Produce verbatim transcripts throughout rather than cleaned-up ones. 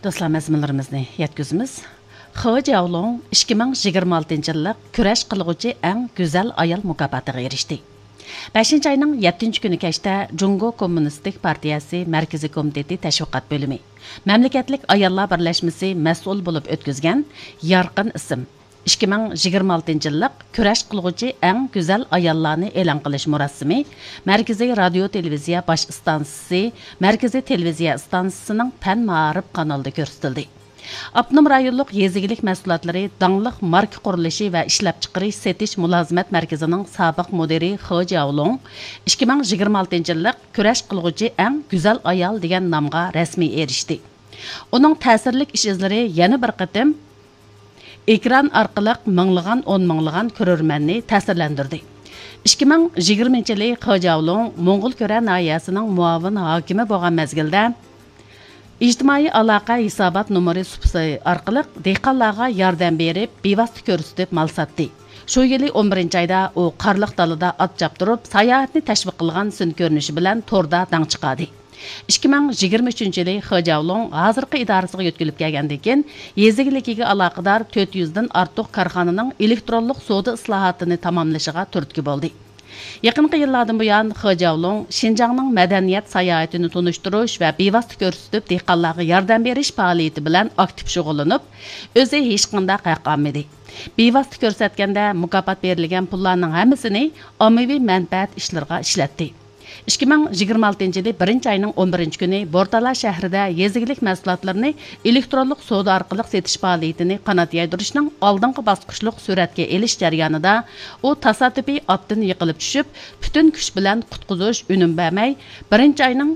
دوستلار، مەزمۇنلىرىمىزنى يەتكۈزىمىز. خې جياۋلۇڭ ئىككى مىڭ يىگىرمە ئالتىنچى يىللىق كۈرەش قىلغۇچى ئەڭ گۈزەل ئايال مۇكاپاتىغا ئېرىشتى. بەشىنچى ئاينىڭ يەتتىنچى كۈنى كەچتە جۇڭگو كوممۇنىستىك پارتىيەسى مەركىزىي كومىتېتى تەشۋىقات بۆلۈمى، مەملىكەتلىك ئاياللار بىرلەشمىسى مەسئۇل بولۇپ ئۆتكۈزگەن يارقىن ئىسىم، ئىككى مىڭ يىگىرمە ئالتىنچى يىللىق كۈرەش قىلغۇچى ئەڭ گۈزەل ئاياللارنى ئېلان قىلىش مۇراسىمى مەركىزىي رادىيو تېلېۋىزىيە باش ئىستانسىسى، مەركىزىي تېلېۋىزىيە ئىستانسىسىنىڭ پەن مائارىپ قانىلىدا كۆرسىتىلدى. ئاپتونوم رايونلۇق يېزا ئىگىلىك مەھسۇلاتلىرى داڭلىق ماركا قۇرۇلۇشى ۋە ئىشلەپچىقىرىش سېتىش مۇلازىمەت مەركىزىنىڭ سابىق مۇدىرى خې جياۋلۇڭ ئىككى مىڭ يىگىرمە ئالتىنچى يىللىق كۈرەش قىلغۇچى ئەڭ گۈزەل ئايال دېگەن نامغا رەسمىي ئېرىشتى. ئۇنىڭ تەسىرلىك ئىش ئىزلىرى يەنە بىر قېتىم ئېكران ئارقىلىق مىڭلىغان، ئون مىڭلىغان كۆرۈرمەننى تەسىرلەندۈردى. ئىككى مىڭ يىگىرمىنچى يىلى خې جياۋلۇڭ موڭغۇل كۈرە ناھىيەسىنىڭ مۇئاۋىن ھاكىمى بولغان مەزگىلدە، ئىجتىمائىي ئالاقە ھېسابات نومۇرى سۇپىسى ئارقىلىق دېھقانلارغا ياردەم بېرىپ، بىۋاسىتە كۆرسىتىپ مال ساتتى. شۇ يىلى ئون بىرىنچى ئايدا ئۇ قارلىق دالىدا ئات چاپتۇرۇپ، ساياھەتنى تەشۋىق قىلغان سۈنئىي كۆرۈنۈشى بىلەن توردا داڭ چىقاردى. ئىككى مىڭ يىگىرمە ئۈچىنچى يىلى خې جياۋلۇڭ ھازىرقى ئىدارىسىگە يۆتكىلىپ كەلگەندىن كېيىن، يېزا ئىگىلىكىگە ئالاقىدار تۆت يۈزدىن ئارتۇق كارخانىنىڭ ئېلېكترونلۇق سودا ئىسلاھاتىنى تاماملىشىغا تۈرتكە بولدى. يېقىنقى يىللاردىن بۇيان، خې جياۋلۇڭ شىنجاڭنىڭ مەدەنىيەت ساياھىتىنى تونۇشتۇرۇش ۋە بىۋاسىتە كۆرسىتىپ، دېھقانلارغا ياردەم بېرىش پائالىيىتى بىلەن ئاكتىپ شۇغۇللىنىپ، ئۆزى ھېچقانداق ھەق ئالمىدى. بىۋاسىتە كۆرسەتكەندە، مۇكاپات بېرىلگەن پۇللارنىڭ ھەممىسىنى ئاممىۋى مەنپەئەت ئىشلىرىغا ئىشلەتتى. ئىككى مىڭ يىگىرمە ئالتىنچى يىلى بىرىنچى ئاينىڭ ئون بىرىنچى كۈنى بورتالا شەھىرىدە يېزا ئىگىلىك مەھسۇلاتلىرىنى ئېلېكترونلۇق سودا ئارقىلىق سېتىش پائالىيىتىنى قانات يايدۇرۇشنىڭ ئالدىنقى باسقۇچلۇق سۈرەتكە ئېلىش جەريانىدا ئۇ تاسادىپىي ئاتتىن يىقىلىپ چۈشۈپ، پۈتۈن كۈچ بىلەن قۇتقۇزۇش ئۈنۈم بەرمەي، بىرىنچى ئاينىڭ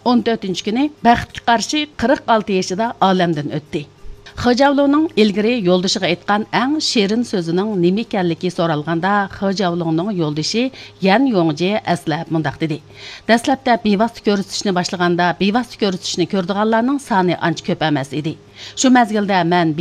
ئون تۆتىنچى كۈنى بەختكە قارشى قىرىق ئالتە يېشىدا ئالەمدىن ئۆتتى. خې جياۋلۇڭنىڭ ئىلگىرى يولدىشىغا ئېيتقان ئەڭ شېرىن سۆزىنىڭ نېمە ئىكەنلىكى سورالغاندا، خې جياۋلۇڭنىڭ يولدىشى يەن يوڭجې ئەسلەپ مۇنداق دېدى: دەسلەپتە بىۋاسىتە كۆرسىتىشنى باشلىغاندا، بىۋاسىتە كۆرسىتىشنى كۆرىدىغانلارنىڭ سانى ئانچە كۆپ ئەمەس ئىدى. شۇ مەزگىلدە مەن